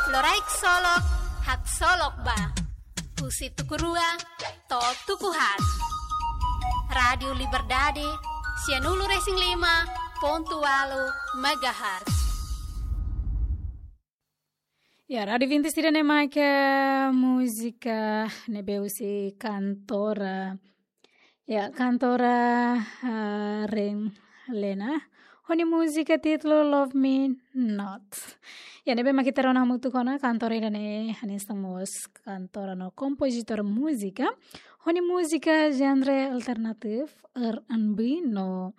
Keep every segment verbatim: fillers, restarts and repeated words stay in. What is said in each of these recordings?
Loraik solok, haksolok ba. Husi tuku rua to'o tuku haat. Rádiu Liberdade, sianulu-resin-lima pontu ualu megahertz. Ya, Rádiu Vinti sira-ne'e mai ke múzika ne'ebé husi kantora, ya, kantora, ah, Ren Lena. Ho nia múzika títulu Love Me Not. Ya, ne'ebé mak ita rona hamutuk ona, kantora ida-ne'e hanesan mós kantora no kompozitór múzika. Ho nia múzika genre alternatif, R and B no,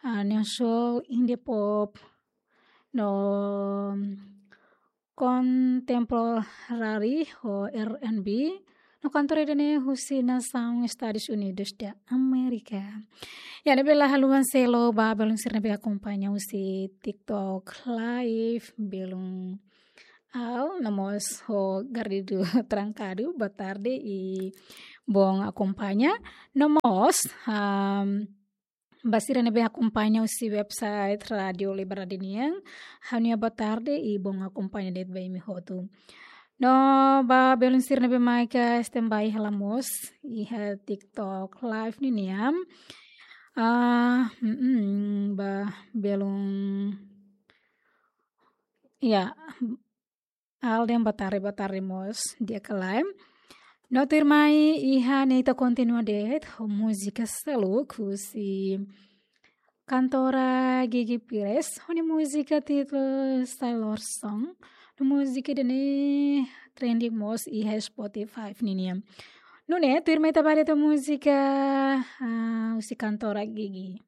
ah, neo soul, indie pop, no contemporary ho R and B, no kantora ida-ne'e husi nasaun Estadus Unidus da Amérika. Ya, ne'ebé la haluha selu ba belun sira ne'ebé akompaña husi TikTok Live, belun Al, no mós ho Garrido Trancado, boa tarde i bom akompaña. No mós, am, ba sira ne'ebé akompaña husi website Rádiu Liberdade nian, ha'u-nia boa tarde i bom akompaña de'it ba imi hotu. No ba belun sira ne'ebé mai ke standby hela mós iha TikTok Live ninian. Ah, mm, mm, ba belun, ya, Alden, boa tarde, boa tarde mós di'ak ka lae. No tuirmai iha ne'e ita kontinua de'it ho múzika seluk husi kantora Gigi Pires, ho nia múzika títulu Sailor Song. No múzika ida-ne'e trending mós iha Spotify ninian. Nune'e tuirmai ita ba de'it ho múzika, ah, husi kantora Gigi.